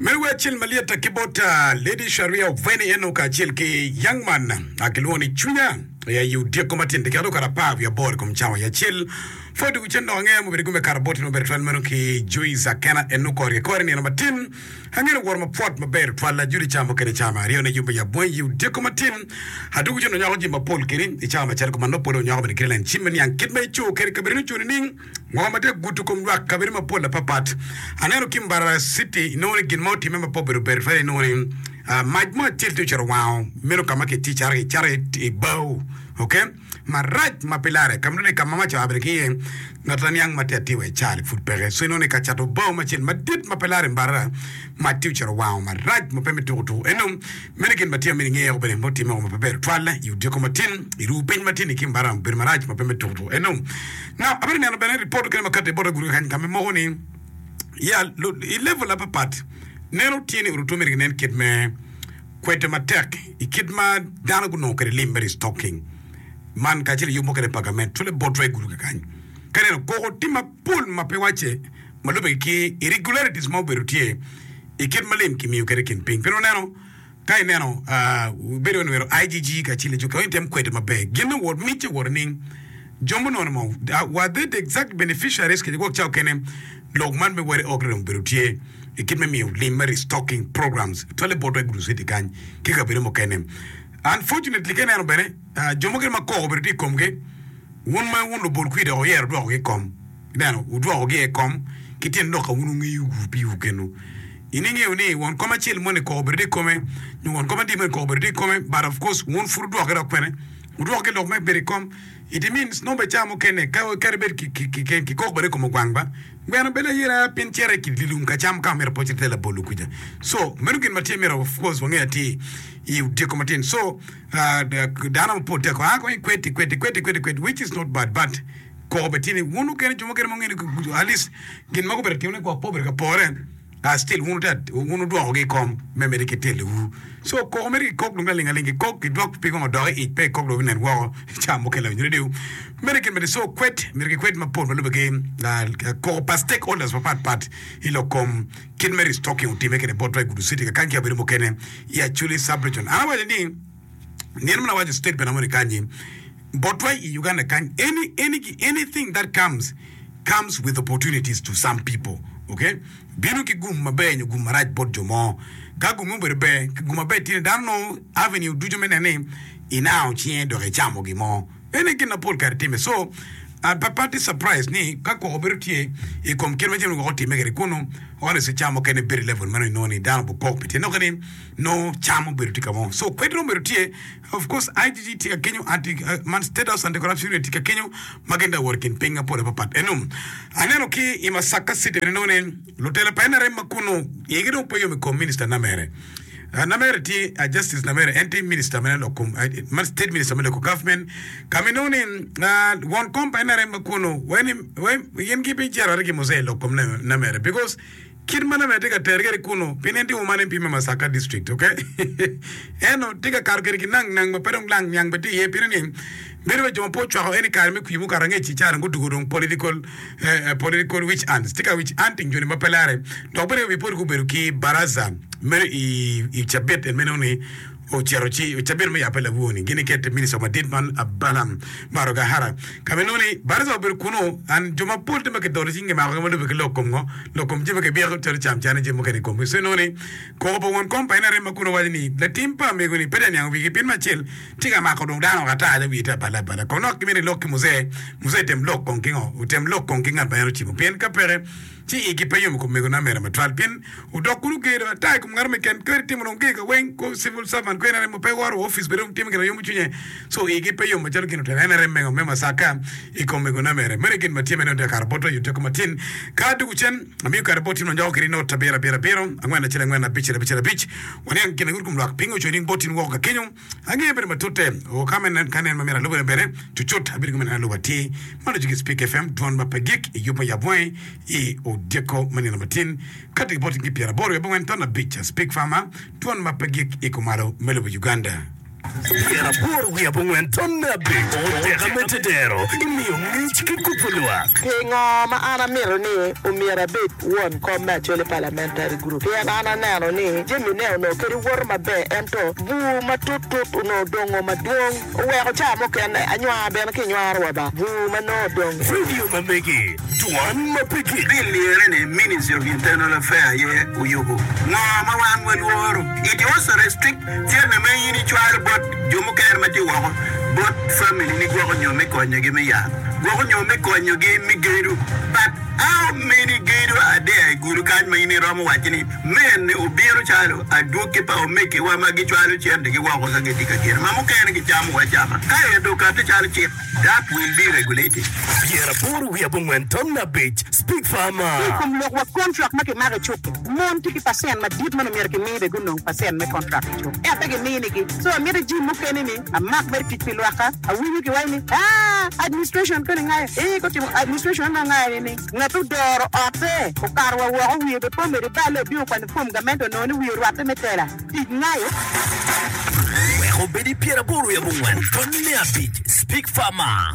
Meno wer acel malyet ki bot Lady Sharia Oveni eno kacel ki Young Man a kilwongo ni Cwinya i odiko matin tye kado kare 18 i kom cawa i acel. Pwod dwogo cen dok angeya mubedo gume kato bot in maber twal meno ki Joyce Akena eno kore ki kore nino matin. Angeyo woro mapwot maber twal ajudi ca mukene ca me aryone yub me yab weng i odiko matin. Adwogo cen onywako jami mapol keni i cawa macalo kuman nongo pwod onywako bene kite len cim me niang kit ma ico kede kabedo ni oco nining. Ngo ma tye ka gudo kom lwak kabedo mapol apapat? Aneno ki Mbarara City inongo ni gin ma otimme ma pe obedo ber tutwal inongo ni mac mo acel tye ocito owango meno ka ma kitye cato kicato iye bao ok marac ma pe lare ka ma nongo ka ma mac oa bene ki iye ngat aniang ma tye atir wa i caa-ni pud peke so inongo ni ka cato bao macel madit ma pe lare i Mbarara mac tye ocito owango marac ma pe me tuko tuko eno Meno gin ma tye amito inge bene ma otimme woko ma pe ber tutwal i odiko matin, i ruu piny matin i kin bara obedo marac ma pe me tuko tuko. Eno, now abedo neno bene ripot okene ma kati bot agurika kany ka ma moko ni ya i level apapat neno tye ni orutu myero ginen kit me kwede matek i kit ma dano gunongo kwede lim me restocking man kacel i yub mukene pa gament cwale botwa i gurika kany. Ka ineno koko tye mapol ma pe wacce ma lubbe ki irregularities ma obedo tye i kit ma lim kimiyo kwede i kin piny. Pien waneno, ka ineno, bedo ni wero IGG kacel ki jo kany tem kwede maber. Gin me wot, micce wot nining? Jo munono mo, were they the exact beneficiaries kece gwok ca okene lok man me were ok romo bedo tye i kit me miyo lim me restocking programs twale botwa i Gulu City kany ki kabedo mukene. Unfortunately ka ineno bene, jo mukene ma koko obedo tye i komgi, wun ma wun lubol kwir dok wuyero dwokogi i kom. Ineno, wudwokogi i kom ki tyen lok ka wun wungeyo gu piwu kenwu. In ingeyo ni won kom acel moni koko obedo tye i kome, nyo won kom adii moni koko obedo tye i kome, but of course wun pud wudwoke dok kwene, wudwoke ki lok me bedo i kom. It means nongo bene ca mukene ka kadi bed kikok bene i kom ogwang ba, gweno bedo aye aya piny cito i lum ka cam ka myero pe ocit ite labolo kuca. So meno gin ma tye myero of course wange atir i odiko matin. So dano mapol tye ka kok, aa kong ikwed, ikwed, ikwed, ikwed, ikwed which is not bad but Koko bene tye ni wun mukene jo mukene ma wungeyo ni at least gin ma gubedo ka timone gwok pe obedo ka pore ah still wun wute wun wudwokogi i kom me medde ki telowu. So koko mere kikok dong aling aling kikok kidwok piny kong odok i ic pe kikok dong binen woko ca mukene lawiny radio mere gin mede so kwed myero kikwed mapol ma lubbe ki koko pa stakeholders mapat pat i lok kom kit me restocking otime kwede botwa i Gudo City kakany ki kabedo mukene i Acholi sub region. An awaco ni nino meno awaco statement na moni kanyi Botwa i Uganda kany any any anything that comes comes with opportunities to some people ok bino ki gum maber nyo gum marac bot jo mo ka gumme obedo ber gum maber tye ni dano nongo avenue ducu me neno ni inango cinge dok icamo gin mo ene gin ma pol kare time so an pe atye surprise ni ka koko bedo tye i kom kit ma jami weko otimme kwede kunu honestly ca mukene bedo i level meno inongo ni dano bukok pi tyen lok ni nongo cam obedo tye ka mo so kwed romo bedo tye Of course IGG tye ka kenyo anti man State House Anti Corruption Unit tye ka kenyo ma gin dong wot i kin piny mapol apapat. Eno aneno ki i Masaka City bene nongo ni lutela pa NRM ma kunu igi dong pe yom i kom Minister Namere. Uh, Namere tye uh, Justice Namere en tye Minister me lok kom uh, man State Minister me loko government ka ma inongo ni uh, won kom pa NRM ma kunu weni we gin gibicito ati ki Muzee i lok kom Namere because Kit ma name tye ka tere kwede kunu, pien en tye woman MP me Masaka district, ok? Ento tye ka kato kwede ki nang nang ma pe dong lang niang bene tye iye, pien ni bedo wa jo ma pe ocwako en i kare me kwir mukato angec i caro gutugo dong political, eh, political witch hunts. Tye ka witch hunting joni ma pe lare. Dok bene wi pol gubedo ki baraza meno i, i cabit en meno ni ocito ci cabit me yabbe lawor-ni gin iket minista madit man Balaam Barugahara ka ma inongo ni baraza obedo kunu and jo mapol tye ma kidolo cing gimakogi ma lubbe ki lok kom ngo lok kom jami ma kibyeko calo cam cane jami mukene i komgi so inongo ni koko pa won kom pa NRM ma kunu waco ni latim pa omego ni pe tye ka niango wigi pien me acel tye ka mako dong dano ata aca wiye tye abala abala kong dok gimito ilok ki muzee muzee tem lok kong ki ngo otem lok kong ki ngat ma en ocimo pien ka peke Ci igi pe yom i kom megona mera matwal, pien odok kun ogedo ata i kom ngat mo keken. Kadi timo dong ger ka weng, ko civil servant ko NRM pe woro wa opic bene dong timo gin ma yomo cwinye. So igi pe yom macalo gin otelo NRM me me Masaka i kom megona mere. Meno gin ma tye me nongo kare botwa i odiko matin. Ka adwogo cen, amiyo kare bot in ma nyoko kede not abiro abiro abiro, angwen acel angwen abicel abicel abic. Waniang gin agut kom lwak pingo ocoyo nying bot in woko ka kenyo. Angeyo bedo matute o ka me ka nen ma myero alubone bene cucut abedo ki me neno alubo atir ma luco ki Speak FM dwon ma pe gik i yub ma yab wangi i odyeko me nino matin ka tye ki bot ki 84 ton abic Speak Farmer dwon ma pe gik i kumalo me lobo Uganda. 80 tonne abic oteka me tedero imiyo ngec ki kubo lwak. Pingo ma an amito ni omyero abed won kom me Acholi Parliamentary Group? Pien an aneno ni jami ne onongo kadi woto maber ento bur matut tut onongo odongo madwong oweko ca mukene anywar bene ki nywaro wa ba bur ma nongo odong. Radio ma megi, dwan ma pe gik. Bill lire ni Ministry of Internal Affair aye oyubo. Ngo ma wan walworo? It also restrict Cente ma in icwalo bot jo mukene ma tye woko bot family ni gwoko nyo me konyogi me yat, gwoko nyo me konyogi me gedo. But how many gedo are there i gulu kany ma in iromo waco ni mene obino calo adwogi pa omegiwa ma gicwalo centegi woko ka gitye ka gedo ma mukene gicamo wa acama ka ento okate calo cik? That will be regulated. 85 5 Speak Farmer. Ki i kom lok wa kontrak ma kimako i cuk-ki, mon tye ki pacent madit ma myero kimi bene gunong pacent me kontrak i cuk, ento pe giminigi. So amito jim mukene ni amak mere tic pi lwakka. Awinyo kiwaco ni, Aa, administration koni ngayo. Ee, gutimo administration onongo ngayo nining? Ngat odoro otte, okato wa woko, wiye bene pe omedo balle, obino okwanyo fom gamente onongo ni wiye orwatte me tela. Tic ngayo. Wek obed i 85 tonne 5 Speak Farmer.